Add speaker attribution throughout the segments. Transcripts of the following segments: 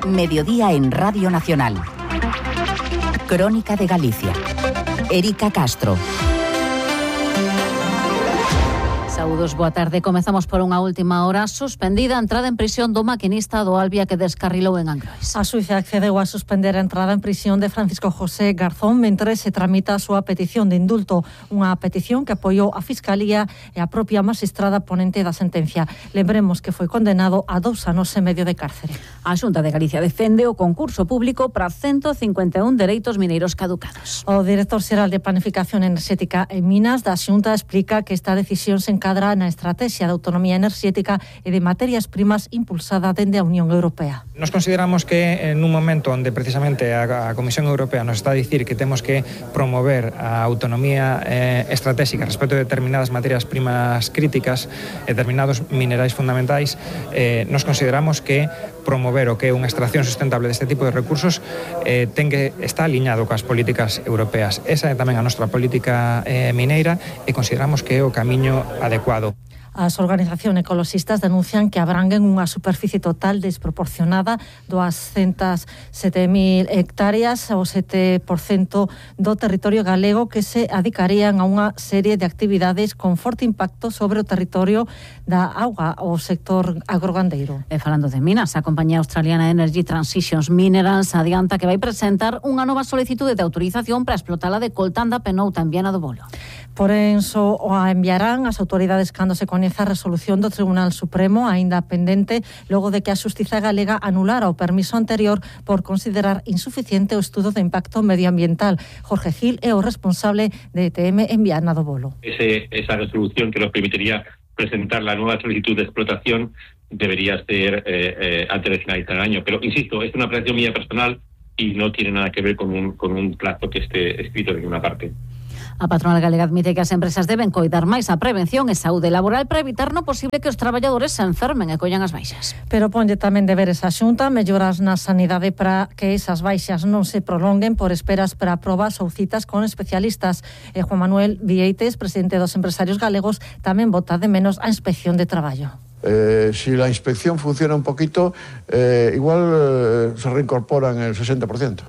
Speaker 1: Mediodía en Radio Nacional. Crónica de Galicia. Erika Castro.
Speaker 2: Saúdos, boa tarde. Comezamos por unha última hora. Suspendida a entrada en prisión do maquinista do Albia que descarrilou en Angrois.
Speaker 3: A Suiza accedeu a suspender a entrada en prisión de Francisco José Garzón mentre se tramita a súa petición de indulto, unha petición que apoiou a Fiscalía e a propia magistrada ponente da sentencia. Lembremos que foi condenado a 2 anos e medio de cárcere.
Speaker 2: A Xunta de Galicia defende o concurso público para 151 dereitos mineiros caducados.
Speaker 3: O director xeral de Planificación Enerxética e Minas da Xunta explica que esta decisión se encadra na estrategia de autonomía enerxética e de materias primas impulsada dende a Unión Europea.
Speaker 4: Nos consideramos que en un momento onde precisamente a Comisión Europea nos está a dicir que temos que promover a autonomía estratégica respecto de determinadas materias primas críticas, determinados minerais fundamentais, nos consideramos que promover o que é unha extracción sustentable deste tipo de recursos está aliñado coas políticas europeas. Esa é tamén a nosa política mineira e consideramos que é o camiño adecuado.
Speaker 3: As organizacións ecoloxistas denuncian que abranguen unha superficie total desproporcionada, 207.000 hectáreas, o 7% do territorio galego, que se adicarían a unha serie de actividades con forte impacto sobre o territorio da auga, o sector agrogandeiro.
Speaker 2: E falando de minas, a compañía australiana Energy Transitions Minerals adianta que vai presentar unha nova solicitude de autorización para explotar a de coltan da Penouta en Viana do Bolo.
Speaker 3: Porén, só a enviarán as autoridades cando se coñeza a resolución do Tribunal Supremo, aínda pendente, logo de que a Xustiza galega anulara o permiso anterior por considerar insuficiente o estudo de impacto medioambiental. Jorge Gil é o responsable de ETM en Viana do Bolo.
Speaker 5: Esa resolución que nos permitiría presentar la nueva solicitud de explotación debería ser antes de finalizar el año. Pero, insisto, es una apreciación mía personal y no tiene nada que ver con un plazo que esté escrito de ninguna parte.
Speaker 2: A patronal galega admite que as empresas deben coidar máis a prevención e saúde laboral para evitar no posible que os traballadores se enfermen e collan as baixas.
Speaker 3: Pero ponlle tamén deberes a Xunta melloras na sanidade para que esas baixas non se prolonguen por esperas para probas ou citas con especialistas. E Juan Manuel Vieites, presidente dos empresarios galegos, tamén bota de menos a inspección de traballo.
Speaker 6: Si la inspección funciona un poquito, igual se reincorporan el 60%.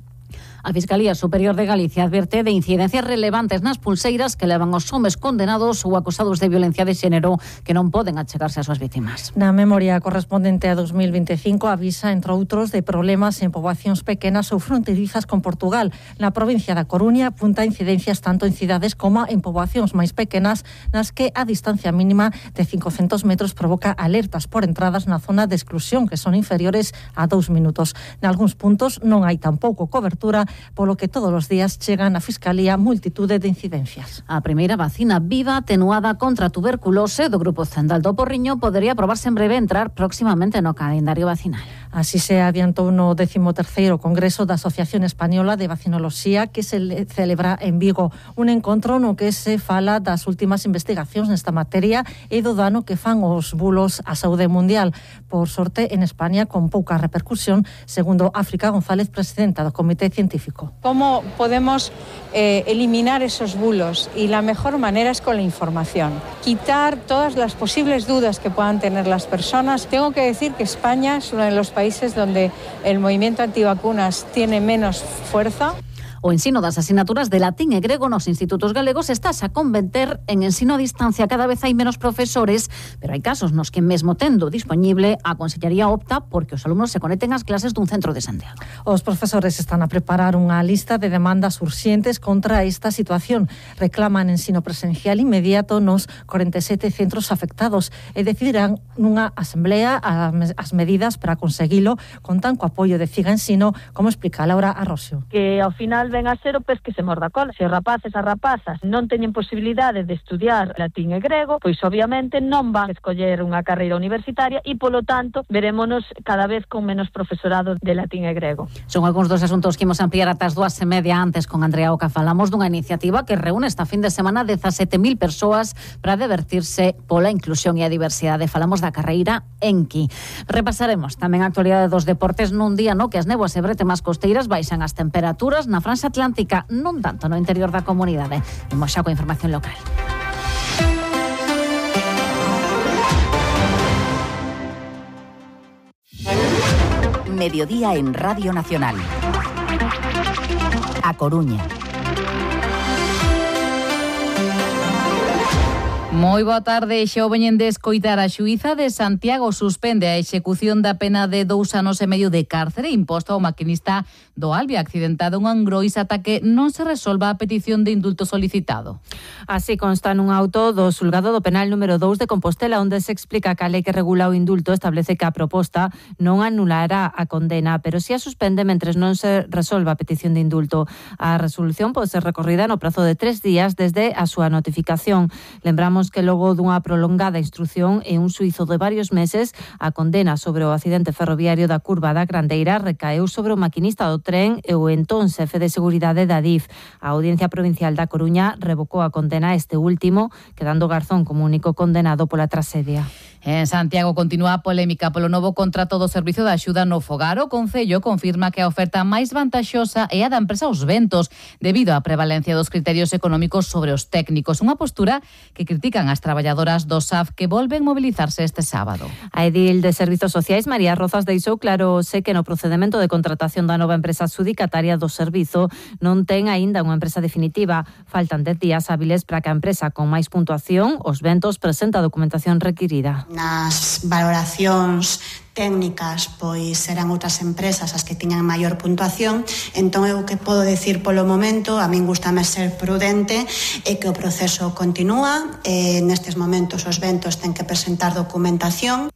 Speaker 2: A Fiscalía Superior de Galicia adverte de incidencias relevantes nas pulseiras que levan os homes condenados ou acusados de violencia de xénero que non poden achegarse ás súas vítimas.
Speaker 3: Na memoria correspondente a 2025 avisa, entre outros, de problemas en poboacións pequenas ou fronterizas con Portugal. Na provincia da Coruña apunta incidencias tanto en cidades como en poboacións máis pequenas nas que a distancia mínima de 500 metros provoca alertas por entradas na zona de exclusión que son inferiores a 2 minutos. Nalgúns puntos non hai tampouco cobertura, polo que todos os días chegan á Fiscalía multitude de incidencias.
Speaker 2: A primeira vacina viva atenuada contra a tuberculose do Grupo Zendal do Porriño podería aprobarse en breve entrar próximamente no calendario vacinal.
Speaker 3: Así se adiantou no 13º Congreso da Asociación Española de Vacinoloxía que se celebra en Vigo. Un encontro no que se fala das últimas investigacións nesta materia e do dano que fan os bulos á saúde mundial. Por sorte, en España, con pouca repercusión, segundo África González, presidenta do Comité Científico.
Speaker 7: ¿Cómo podemos eliminar esos bulos? Y la mejor manera es con la información. Quitar todas las posibles dudas que puedan tener las personas. Tengo que decir que España es uno de los países donde el movimiento antivacunas tiene menos fuerza.
Speaker 2: O ensino das asignaturas de latín e grego nos institutos galegos estás a converter en ensino a distancia. Cada vez hai menos profesores, pero hai casos nos que mesmo tendo disponible a Consellería opta porque os alumnos se conecten ás clases dun centro de Santiago.
Speaker 3: Os profesores están a preparar unha lista de demandas urxentes contra esta situación. Reclaman ensino presencial inmediato nos 47 centros afectados e decidirán nunha asamblea as medidas para conseguilo, contan co apoio de Ciga Ensino, como explica Laura Arrosio.
Speaker 8: Que ao final ven a ser o pez que se morda a cola. Se os rapaces e rapazas non teñen posibilidade de estudiar latín e grego, pois obviamente non van a escoller unha carreira universitaria e, polo tanto, verémonos cada vez con menos profesorado de latín e grego.
Speaker 2: Son algúns dos asuntos que imos ampliar ata as 2:30. Antes, con Andrea Oca, falamos dunha iniciativa que reúne esta fin de semana 17.000 persoas para divertirse pola inclusión e a diversidade. Falamos da carreira Enki. Repasaremos tamén a actualidade dos deportes nun día no que as néboas e bretemas costeiras baixan as temperaturas na França Atlántica, non tanto no interior da comunidade. Imos xa coa información local.
Speaker 1: Mediodía en Radio Nacional. A Coruña.
Speaker 9: Moi boa tarde, xa o veñen de escoitar. A xuíza de Santiago suspende a execución da pena de 2 anos e medio de cárcere imposta ao maquinista do Alvia accidentado en Angrois ata que non se resolva a petición de indulto solicitado.
Speaker 3: Así consta nun auto do xulgado do penal número 2 de Compostela, onde se explica que a lei que regula o indulto establece que a proposta non anulará a condena, pero si a suspende mentres non se resolva a petición de indulto. A resolución pode ser recorrida no prazo de 3 días desde a súa notificación. Lembramos que logo dunha prolongada instrución e un xuízo de varios meses, a condena sobre o accidente ferroviario da curva da Grandeira recaeu sobre o maquinista do tren e o entón xefe de seguridade da DIF. A Audiencia Provincial da Coruña revocou a condena a este último, quedando Garzón como único condenado pola traxedia.
Speaker 9: En Santiago continúa a polémica polo novo contrato do Servizo de Axuda no Fogar. O Concello confirma que a oferta máis vantaxosa é a da empresa Os Ventos, debido á prevalencia dos criterios económicos sobre os técnicos. Unha postura que critican as traballadoras do SAF que volven mobilizarse este sábado.
Speaker 3: A edil de Servizos Sociais, María Rozas, deixou claro que no procedemento de contratación da nova empresa adxudicataria do servizo non ten aínda unha empresa definitiva. Faltan 10 días hábiles para que a empresa con máis puntuación, Os Ventos, presente a documentación requirida.
Speaker 10: Nas valoracións técnicas, pois serán outras empresas as que tiñan maior puntuación. Entón eu que podo decir polo momento, a min gustame ser prudente e que o proceso continúa. Nestes momentos Os Ventos ten que presentar documentación.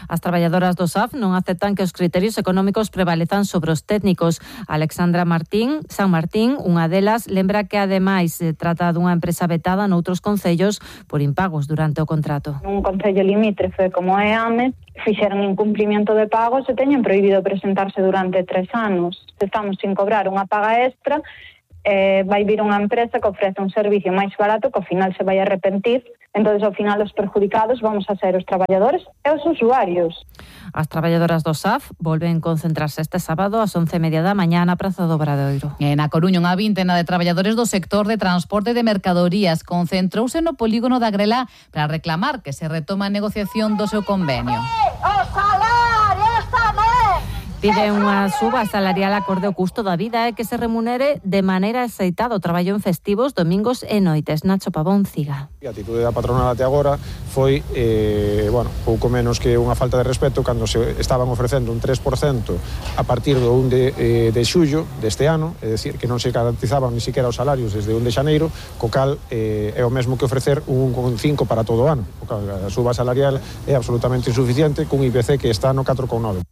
Speaker 3: As traballadoras do SAF non aceptan que os criterios económicos prevalezan sobre os técnicos. Alexandra San Martín, unha delas, lembra que ademais se trata dunha empresa vetada noutros concellos por impagos durante o contrato.
Speaker 11: Un concello limítrofe como é AMES fixeron incumprimento de pagos e teñen prohibido presentarse durante 3 anos. Estamos sin cobrar unha paga extra, vai vir unha empresa que ofrece un servicio máis barato que ao final se vai arrepentir. Entón, ao final, os perjudicados vamos a ser os traballadores e os usuarios.
Speaker 3: As traballadoras do SAF volven concentrarse este sábado ás 11:30 da mañá na Praza do Obradoiro.
Speaker 9: Na Coruña, unha vintena de traballadores do sector de transporte de mercadorías concentrouse no polígono da Grela para reclamar que se retoma a negociación do seu convenio.
Speaker 3: Pide unha suba salarial acorde ao custo da vida e que se remunere de maneira aceitada o traballo en festivos, domingos e noites. Nacho Pavón, Ciga.
Speaker 12: A atitude da patronal até agora foi pouco menos que unha falta de respeto cando se estaban ofrecendo un 3% a partir do 1 de xullo deste ano, é dicir, que non se garantizaban ni siquiera os salarios desde 1 de xaneiro, co cal é o mesmo que ofrecer un 1,5 para todo o ano. A suba salarial é absolutamente insuficiente cun IPC que está no 4,9.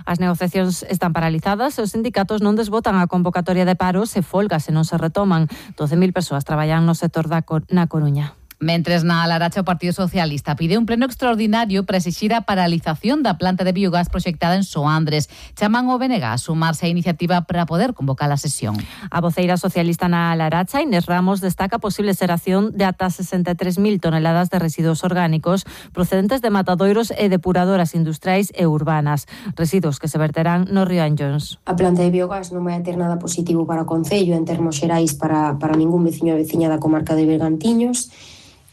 Speaker 3: As negociacións están paralizadas e os sindicatos non desbotan a convocatoria de paros e folgas se non se retoman. 12.000 persoas traballan no sector na Coruña.
Speaker 9: Mentres na Laracha o Partido Socialista pide un pleno extraordinario para exixir a paralización da planta de biogás proxectada en Soandres. Chaman o BNG a sumarse á iniciativa para poder convocar a sesión.
Speaker 3: A voceira socialista na Laracha, Inés Ramos, destaca a posible xeración de ata 63.000 toneladas de residuos orgánicos procedentes de matadoiros e depuradoras industriais e urbanas, residuos que se verterán no río Anllóns.
Speaker 13: A planta de biogás non vai a ter nada positivo para o Concello en termos xerais para ningún veciño e veciña da comarca de Bergantiños,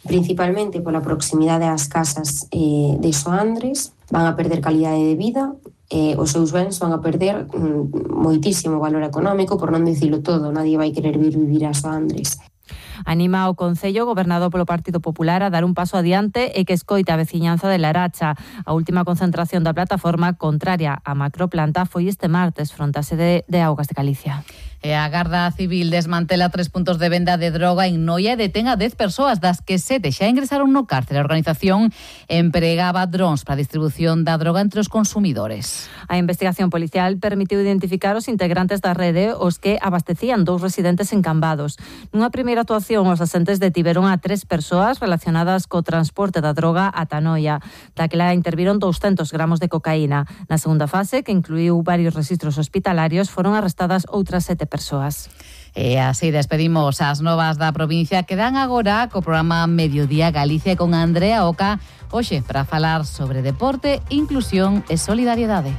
Speaker 13: principalmente pola proximidade ás casas de Soandres. Van a perder calidade de vida, os seus bens van a perder moitísimo valor económico, por non dicilo todo, nadie vai querer vivir a Soandres.
Speaker 3: Anima o Concello, gobernado polo Partido Popular, a dar un paso adiante e que escoite a veciñanza de Laracha. A última concentración da plataforma contraria á macroplanta foi este martes fronte á sede de Augas de Galicia.
Speaker 9: E a Garda Civil desmantela 3 puntos de venda de droga en Noia e detén a 10 persoas, das que 7 xa ingresaron no cárcere. A organización empregaba drons para a distribución da droga entre os consumidores.
Speaker 3: A investigación policial permitiu identificar os integrantes da rede, os que abastecían 2 residentes en Cambados. Nunha primeira actuación, os asentes detiveron a 3 persoas relacionadas co transporte da droga ata Noia. Daquela interviron 200 gramos de cocaína. Na segunda fase, que incluiu varios registros hospitalarios, foron arrestadas outras 7 persoas.
Speaker 9: E así despedimos as novas da provincia que dan agora co programa Mediodía Galicia con Andrea Oca, hoxe para falar sobre deporte, inclusión e solidariedade.